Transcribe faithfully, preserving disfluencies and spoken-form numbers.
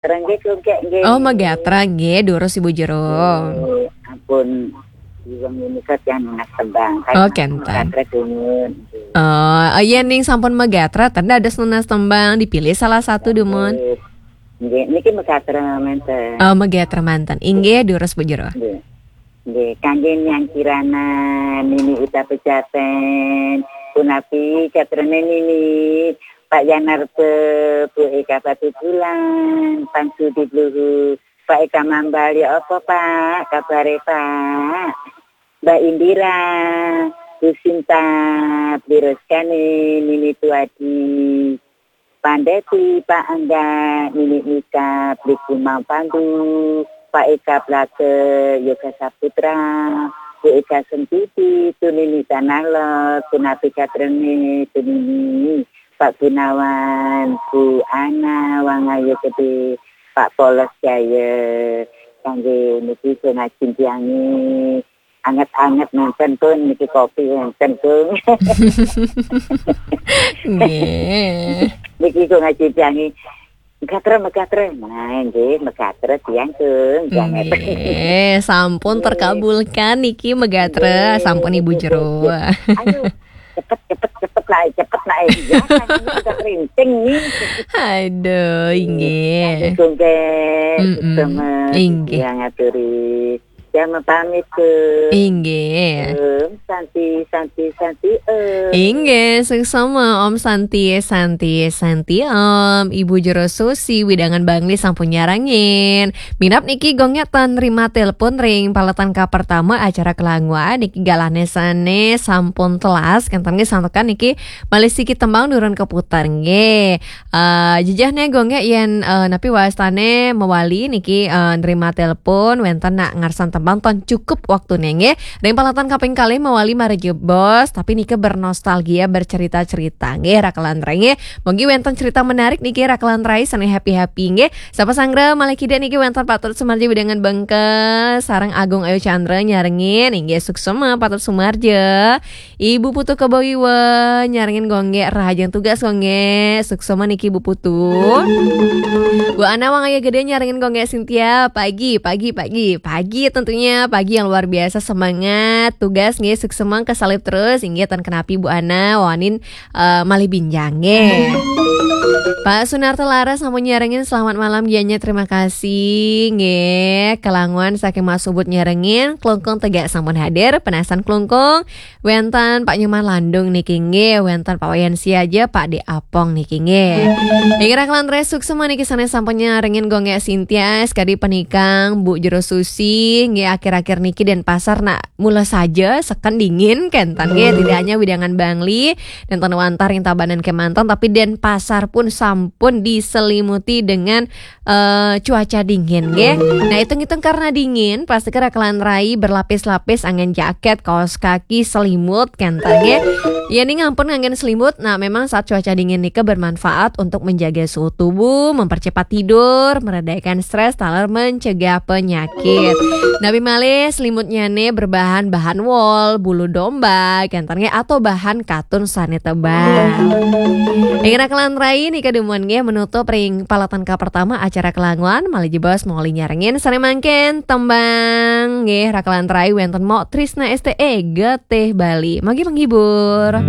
Terang nggih, Gongkek, nggih. Oh, megatra nggih, durus Ibu Jero. Nggih, ampun, iwang ini kan yang nunas tembang. Kan oh, kenten. Megatra dumun. Oh, oh, iya ning sampun megatra, ten dados nunas tembang, dipilih salah satu dumun. Nggih. Nggih, niki megatra manten. Oh, megatra manten. Inggih, durus Bu Jero. Nggih. Nggih, kangge Nyang Kirana, Nini Uta Pejaten, punapi gatrane Nini, Pak Yanarpe, Bu Eka Batu Bulan, Pak Sudi Bluhu, Pak Eka Mambal, ya apa, Pak? Kabare, Pak? Mbak Indira, Bu Sinta, Biroskane, Nini Tuadi, Pandeti, Pak Angga, Nini Nika, Bli Gumang Pandu, Pak Eka Blake, Yoga Saputra, Bu Eka Sentiti, Tunini Tanah Lot, Punapi Katrene, Tunini, Pak Gunawan, Bu Ana, Wangayo Gede, Pak Polos Jaya, kangge niki sing ngajin tiange, anget-anget nenten pun niki kopi nenten pun. Nggih. Niki kok ngajin tiange. Megatre, megatre. Nah, nggih, megatre tiang, Gung. Nggih, sampun terkabulkan niki megatre, nggih, sampun Ibu nggih, Jero. Nggih. Ayo, cepet, cepet, cepet lah, cepet lah. Ya, kan ini udah kerincing nih. Aduh, inggih. Nggih, Gung, nggih. Mm-mm. Sama inggih. Yang ngaturi. Jangan pamit, Gung. Inggih. Om Santi, Santi, Santi, Om. Inggih, suksma Om Santi, Santi, Santi Om. Ibu Jero Susi, wewidangan Bangli sampun nyarengin. Minab niki Gung nggih tan nrima telepon ring paletan kapertama acara Kelanguan niki galahne sane sampun telas, kenten nggih santukan niki malih siki tembang durung keputar nggih. Eh, jejeh ne Gung nggih yen, eh, napi wastane mewali niki, eh, nrima telepon wenten nak ngarsan tembang ton cukup waktune nggih. Ring paletan kaping kalih mewali marejebos, tapi niki bernostalgia, bercerita-cerita nggih, rakelan rai nggih. Monggi wenten cerita menarik niki, rakelan rai sane happy-happy nggih. Sapa sanggra malih kidek niki wenten Pak Tut Sumarji wewidangan Bengkes, sareng Agung Ayu Chandra nyarengin, inggih suksma Pak Tut Sumarja. Ibu Putu Kebo Iwa nyarengin Gung nggih, rahajeng tugas Gung nggih, suksma niki Ibu Putu. Bu Ana Wangayo Gede nyarengin Gung nggih Cynthia, pagi, pagi, pagi, pagi tentunya, pagi yang luar biasa, semangat, tugas nggih, suksma kesalip terus, inggih ten kenapi Bu Ana, wanin eh, malih binjang nggih. Pak Sunarto Laras sampun nyarengin, selamat malam Gianya, terima kasih nggih. Kelanguan saking Mas Ubud nyarengin, Klungkung Tegak sampun hadir, penasan Klungkung. Wenten Pak Nyoman Landung niki nggih, wenten Pak Wayan Siaja, Pak De Apong niki nggih. Inggih rakelan rai suksma niki sane sampun nyarengin Gung nggih Cynthia, sekadi penikang Bu Jero Susi nggih, akhir-akhir niki Denpasar nak mula saja seken dingin kenten nggih, tidak hanya wewidangan Bangli, nenten wantah ring Tabanan kemanten, tapi Denpasar pun sampun diselimuti dengan, eh, cuaca dingin nggih. Nah, hitung-hitung karena dingin, plastik rakelan rai berlapis-lapis, anggen jaket, kaos kaki, selimut kenten nggih. Yen ning ampun nganggen selimut, nah memang saat cuaca dingin nika bermanfaat untuk menjaga suhu tubuh, mempercepat tidur, meredakan stres, taler mencegah penyakit. Napi malih selimutnyane berbahan bahan wol, bulu domba, kenten nggih, atau bahan katun sane tebal. Inggih rakelan rai nika dumun nggih menutup ring paletan kapertama acara Kelanguan, malih jebos mewali nyarengin sane mangkin tembang nggih, rakelan rai wenten Mok Trisna S T E, Getih Bali. Manggi menghibur.